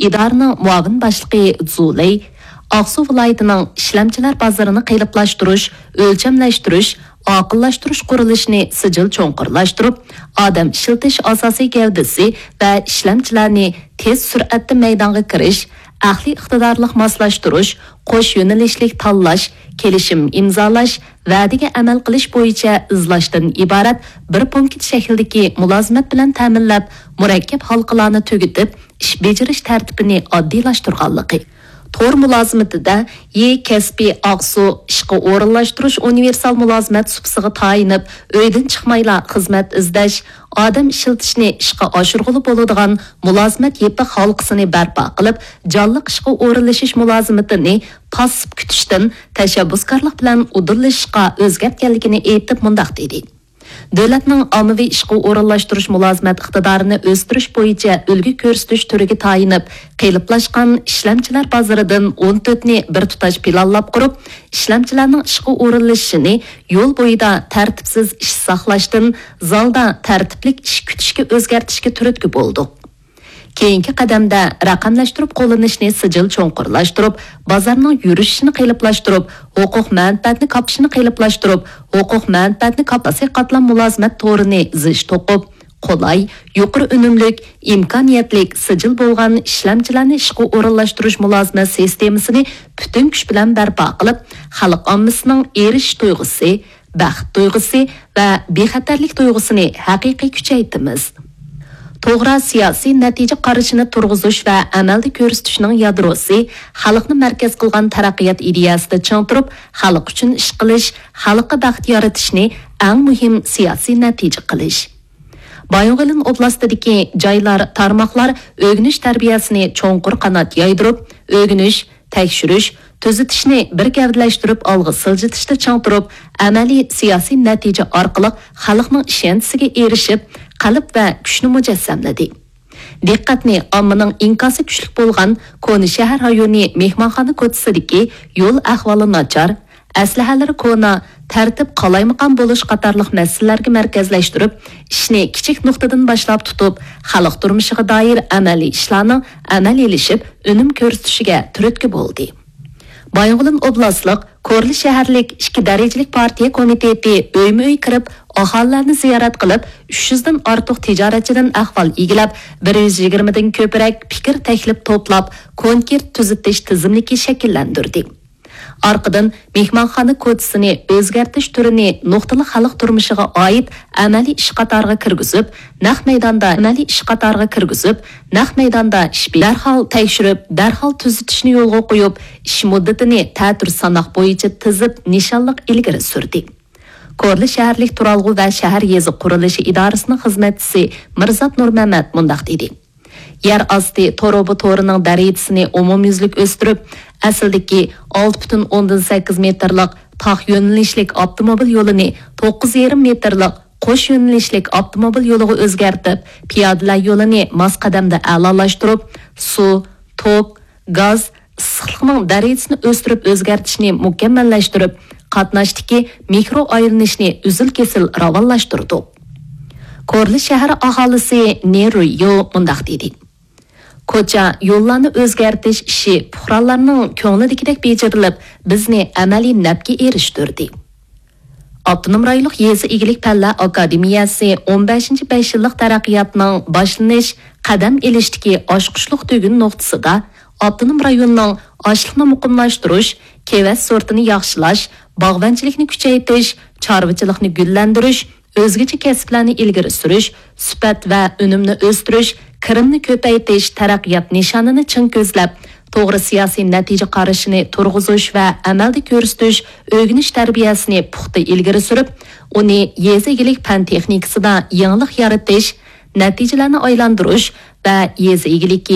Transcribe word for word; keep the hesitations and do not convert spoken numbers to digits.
ئىدارىنىڭ مۇئاۋىن باشلىقى زۇ لېي، ئاقسۇ ۋىلايىتىنىڭ ئىشلەمچىلەر بازىرىنى قېلىپلاشتۇرۇش، ئۆلچەملەشتۈرۈش، ئاقىللاشتۇرۇش قۇرۇلۇشىنى سىجىل چوڭقۇرلاشتۇرۇپ، ئادەم ئىشلىتىش ئاساسىي گەۋدىسى ۋە ئىشلەمچىلەرنى تېز سۈرئەتتە مەيدانغا كىرىش، ئەقلىي ئىقتىدارلىق ماسلاشتۇرۇش، قوش يۆنىلىشلىك تاللاش، كېلىشىم ئىمزالاش، ۋەدىگە ئەمەل قىلىش بويىچە ئىزلاشتىن ئىبارەت بىر پونكىت شەكلىدىكى مۇلازىمەت بىلەن تەمىنلەپ، مۇرەككەپ ھالقىلارنى تۈگىتىپ، ئىش بېجىرىش تەرتىپىنى ئاددىيلاشتۇرغانلىقى، تور مۇلازىمىتىدە يې كەسپىي ئاقسۇ ئىشقا ئورۇنلاشتۇرۇش ئۇنىۋېرسال مۇلازىمەت سۇپىسىغا تايىنىپ، ئۆيدىن چىقمايلا خىزمەت ئىزدەش، ئادەم ئىشلىتىشنى ئىشقا ئاشۇرغىلى بولىدىغان مۇلازىمەت يېپىق ھالقىسىنى بەرپا قىلىپ، جانلىق ئىشقا ئورۇنلىشىش مۇلازىمىتىنى پاسسىپ كۈتۈشتىن تەشەببۇسكارلىق بىلەن ئۇدۇللىشىشقا ئۆزگەرتكەنلىكىنى ئېيتىپ مۇنداق دېدى: دۆلەتنىڭ ئاممىۋى ئىشقا ئورۇنلاشتۇرۇش مۇلازىمەت ئىقتىدارىنى ئۆستۈرۈش بويىچە ئۈلگە كۆرسىتىش تۈرىگە تايىنىپ، قېلىپلاشقان ئىشلەمچىلەر بازىرىدىن ئون تۆتنى بىر تۇتاش پىلانلاپ قۇرۇپ، ئىشلەمچىلەرنىڭ ئىشقا ئورۇنلىشىشىنى يول بويىدا تەرتىپسىز ئىش ساقلاشتىن، زالدا تەرتىپلىك ئىش كۈتۈشكە ئۆزگەرتىشكە تۈرتكە بولدۇق. كېيىنكى قەدەمدە رەقەملەشتۈرۈپ قوللىنىشنى سىجىل چوڭقۇرلاشتۇرۇپ، بازارنىڭ يۈرۈشۈشىنى قېلىپلاشتۇرۇپ، ھوقۇق مەنپەئەتنى كاپىشىنى قېلىپلاشتۇرۇپ، ھوقۇق مەنپەئەتنى كاپاسى قاتلام مۇلازىمەت تورىنى زىچ توقۇپ، قولاي، يۇقىرى ئۈنۈملۈك، ئىمكانىيەتلىك، سىجىل بولغان ئىشلەمچىلەرنى ئىشقا ئورۇنلاشتۇرۇش مۇلازىمەت سىستېمىسىنى پۈتۈن كۈچ بىلەن بەرپا قىلىپ، خەلق ئاممىسىنىڭ ئېرىشىش تۇيغۇسى، بەخت تۇيغۇسى ۋە بىخەتەرلىك تۇيغۇسىنى ھەقىقىي كۈچەيتىمىز. توغرا سىياسىي نەتىجە قارىشىنى تۇرغۇزۇش ۋە ئەمەلدە كۆرسىتىشنىڭ يادروسى خەلقنى مەركەز قىلغان تەرەققىيات ئىدىيەسىدە چىڭ تۇرۇپ، خەلق ئۈچۈن ئىش قىلىش، خەلققە بەخت يارىتىشنى ئەڭ مۇھىم سىياسىي نەتىجە قىلىش. بايىنغولىن ئوبلاستىدىكى جايلار، تارماقلار ئۆگىنىش تەربىيەسىنى چوڭقۇر قانات يايدۇرۇپ، ئۆگىنىش، تەكشۈرۈش، تۈزىتىشنى بىر گەۋدىلەشتۈرۈپ ئالغا سىلجىتىشتە چىڭ تۇرۇپ، ئەمەلىي سىياسىي نەتىجە ئارقىلىق خەلقنىڭ ئىشەنچىسىگە ئېرىشىپ، قەلب ۋە كۈچنى مۇجەسسەملىدى. دىققەتنى ئاممىنىڭ ئىنكاسى كۈچلۈك بولغان كونا شەھەر رايونى مېھمانخانا كوچىسىدىكى يول ئەھۋالى ناچار، ئەسلىھەلىرى كونا، تەرتىپ قالايمىقان بولۇش قاتارلىق مەسىلىلەرگە مەركەزلەشتۈرۈپ، ئىشنى كىچىك نۇقتىدىن باشلاپ تۇتۇپ، خەلق تۇرمۇشىغا دائىر ئەمەلىي ئىشلارنىڭ ئەمەلىيلىشىپ، ئۈنۈم كۆرسىتىشىگە تۈرتكە بولدى. بايىنغولىن ئوبلاستلىق كورلا شەھەرلىك ئىككى دەرىجىلىك پارتىيە كومىتېتى ئۆيمۇ ئۆي كىرىپ، ئاھالىلەرنى زىيارەت قىلىپ، ئۈچ يۈزدىن ئارتۇق تىجارەتچىدىن ئەھۋال ئىگىلەپ، بىر يۈز يىگىرمىدىن كۆپرەك پىكىر تەكلىپ توپلاپ، كونكرېت تۈزىتىش تىزىملىكى شەكىللەندۈردى. ئارقىدىن مېھمانخانا كوچىسىنى ئۆزگەرتىش تۈرىنى نۇقتىلىق خەلق تۇرمۇشىغا ئائىت ئەمەلىي ئىش قاتارىغا كىرگۈزۈپ، نەق مەيداندا ئەمەلىي ئىش قاتارىغا كىرگۈزۈپ، نەق مەيداندا ئىش بېجىرىپ، دەرھال تەكشۈرۈپ، دەرھال تۈزىتىشنى يولغا قويۇپ، ئىش مۇددىتىنى تەتۈر ساناق بويىچە تىزىپ، نىشانلىق ئىلگىرى سۈردى. كورلا شەھەرلىك تۇرالغۇ ۋە شەھەر يېزا قۇرۇلۇشى ئىدارىسىنىڭ خىزمەتچىسى مىرزات نۇرمەمەت مۇنداق دېدى: يەر ئاستى تۇرۇبا تورىنىڭ دەرىجىسىنى ئومۇميۈزلۈك ئۆستۈرۈپ، ئەسلىدىكى ئالتە پۈتۈن ئوندىن سەككىز مېتىرلىق تاق يۆنىلىشلىك ئاپتوموبىل يولىنى توققۇز يېرىم مېتىرلىق قوش يۆنىلىشلىك ئاپتوموبىل يولىغا ئۆزگەرتىپ، پىيادىلەر يولىنى ماس قەدەمدە ئەلالاشتۇرۇپ، سۇ، توك، گاز، ئىسسىقلىقنىڭ دەرىجىسىنى ئۆستۈرۈپ ئۆزگەرتىشنى مۇكەممەللەشتۈرۈپ، قاتناشتىكى مىكرو ئايلىنىشنى ئۈزۈل-كېسىل راۋانلاشتۇردۇق. كورلا شەھەر ئاھالىسى نېرۇيو مۇنداق دېدى: كوچا يوللارنى ئۆزگەرتىش ئىشى پۇقرالارنىڭ كۆڭلىدىكىدەك بېجىرىلىپ، بىزنى ئەمەلىي نەپكە ئېرىشتۈردى. ئاپتونوم رايونلۇق يېزا ئىگىلىك پەنلەر ئاكادېمىيەسى ئون بەشىنچى بەش يىللىق تەرەققىياتنىڭ باشلىنىش، قەدەم ئېلىشتىكى ئاچقۇچلۇق تۈگۈن نۇقتىسىدا ئاپتونوم رايوننىڭ ئاشلىقنى مۇقىملاشتۇرۇش، كېۋەز سورتىنى ياخشىلاش، باغۋەنچىلىكنى كۈچەيتىش، چارۋىچىلىقنى گۈللەندۈرۈش، ئۆزگىچە كەسىپلەرنى ئىلگىرى سۈرۈش، سۈپەت ۋە ئۈنۈمنى ئۆستۈرۈش، كىرىمنى كۆپەيتىش تەرەققىيات نىشانىنى چىڭ كۆزلەپ، توغرا سىياسىي نەتىجە قارىشىنى تۇرغۇزۇش ۋە ئەمەلدە كۆرسىتىش، ئۆگىنىش تەربىيەسىنى پۇختا ئىلگىرى سۈرۈپ، ئۇنى يېزا ئىگىلىك پەن تېخنىكىسىدا يېڭىلىق يارىتىش، نەتىجىلەرنى ئايلاندۇرۇش ۋە يېزا ئىگىلىكى